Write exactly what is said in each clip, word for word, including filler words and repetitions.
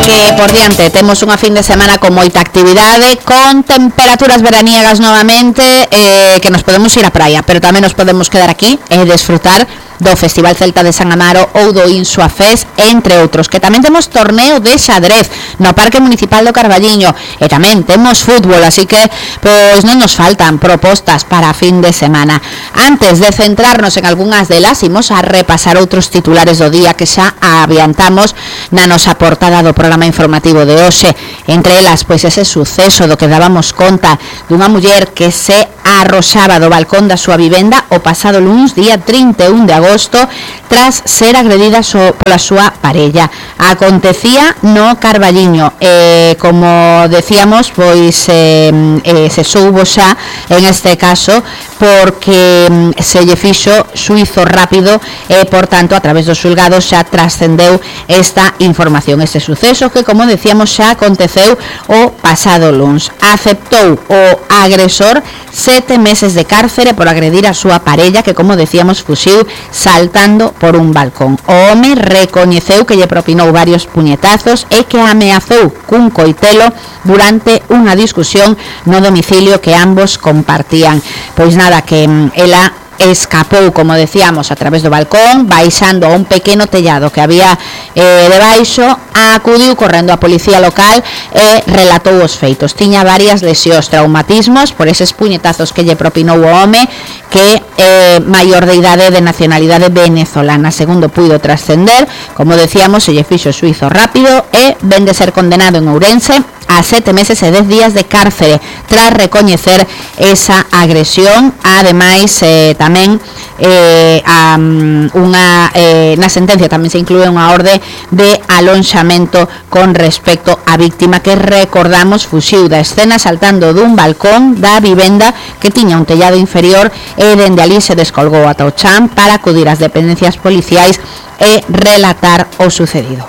que por diante temos unha fin de semana con moita actividade, con temperaturas veraniegas novamente, eh, que nos podemos ir á praia, pero tamén nos podemos quedar aquí e desfrutar do Festival Celta de San Amaro ou do Insua Fest, entre outros, que tamén temos torneo de xadrez no Parque Municipal do Carballiño, e tamén temos fútbol, así que pois non nos faltan propostas para a fin de semana. Antes de centrarnos en algunhas delas, imos a repasar outros titulares do día que xa adiantamos na nosa portada do programa informativo de hoxe, entre elas pois ese suceso do que dábamos conta dunha muller que se arroxaba do balcón da súa vivenda o pasado luns, día trinta e un de agosto, tras ser agredida so, pola súa parella. Acontecía no Carballiño, eh, como decíamos, pois eh, eh, se soubo xa en este caso porque eh, se lle fixo xuizo rápido e, por tanto, a través dos xulgados xa trascendeu esta información. Este suceso que, como decíamos, xa aconteceu o pasado luns. Aceptou o agresor sete meses de cárcere por agredir a súa parella que, como decíamos, fuxiu saltando por un balcón. O home recoñeceu que lle propinou varios puñetazos e que ameazou cun coitelo durante unha discusión no domicilio que ambos compartían. Pois nada, que ela escapou, como decíamos, a través do balcón, baixando a un pequeno tellado que había eh, debaixo, acudiu correndo a policía local e relatou os feitos. Tiña varias lesións, traumatismos por eses puñetazos que lle propinou o home, que é eh, maior de idade, de nacionalidade venezolana. Segundo puido trascender, como decíamos, se lle fixo suizo rápido e ven de ser condenado en Ourense a sete meses e dez días de cárcere tras recoñecer esa agresión. Ademais, eh, tamén eh, a, unha, eh, na sentencia tamén se inclúe unha orde de alonxamento con respecto á víctima, que recordamos fuxiu da escena saltando dun balcón da vivenda que tiña un tellado inferior e dende ali se descolgou ata o chan para acudir ás dependencias policiais e relatar o sucedido.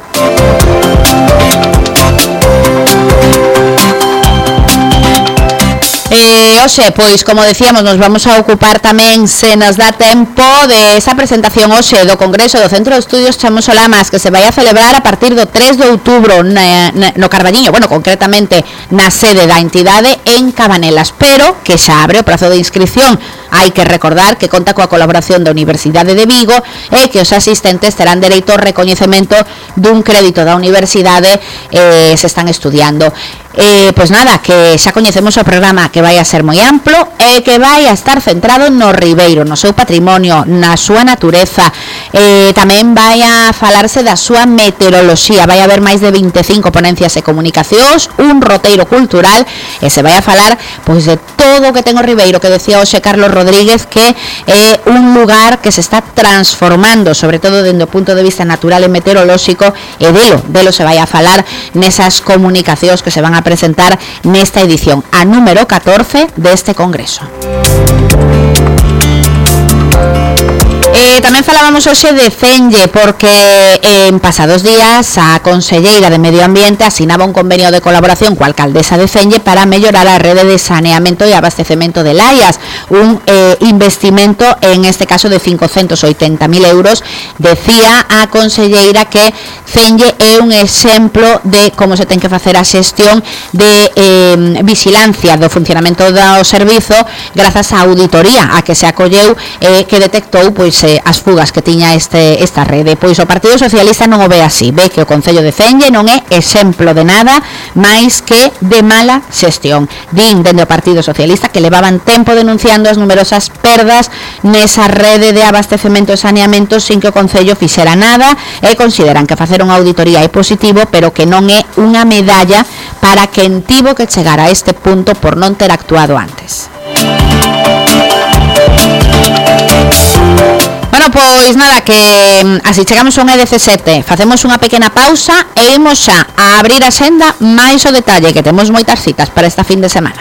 Eh, oxe, pois, como decíamos, nos vamos a ocupar tamén, se nos dá tempo, de esa presentación hoxe do Congreso do Centro de Estudios Chamos Olamas, que se vai a celebrar a partir do tres de outubro na, na, no Carballiño, bueno, concretamente na sede da entidade en Cabanelas, pero que xa abre o prazo de inscripción. Hai que recordar que conta coa colaboración da Universidade de Vigo e que os asistentes terán dereito ao recoñecemento dun crédito da universidade eh, se están estudiando. Eh, pois nada, que xa coñecemos o programa, que vai a ser moi amplo e que vai a estar centrado no Ribeiro, no seu patrimonio, na súa natureza. Eh, tamén vai a falarse da súa meteoroloxía, vai a haber máis de vinte e cinco ponencias e comunicacións, un roteiro cultural, e se vai a falar pois de todo o que ten o Ribeiro, que decía hoxe Carlos Rodríguez, que é un lugar que se está transformando, sobre todo dende o punto de vista natural e meteorolóxico, e delo, delo se vai a falar nesas comunicacións que se van a presentar nesta edición, a número catorce deste Congreso. Eh, tamén falábamos hoxe de Cenlle, porque en pasados días a conselleira de Medio Ambiente asinaba un convenio de colaboración coa alcaldesa de Cenlle para mellorar a rede de saneamento e abastecemento de Laias, un eh, investimento en este caso de cincocentos oitenta mil euros. Decía a conselleira que Cenlle é un exemplo de como se ten que facer a xestión de eh, vigilancia do funcionamento do servizo grazas á auditoría a que se acolleu e eh, que detectou pois eh, as fugas que tiña este esta rede. Pois o Partido Socialista non o ve así, ve que o Concello de Cenlle non é exemplo de nada máis que de mala xestión. Din dende o Partido Socialista que levaban tempo denunciando as numerosas perdas nesa rede de abastecemento e saneamento sin que o Concello fixera nada, e consideran que facer unha auditoría é positivo, pero que non é unha medalla para quen tivo que chegar a este punto por non ter actuado antes. Bueno, pois nada, que así chegamos a un E dezasete, facemos unha pequena pausa e imos xa a abrir a senda máis o detalle, que temos moitas citas para esta fin de semana.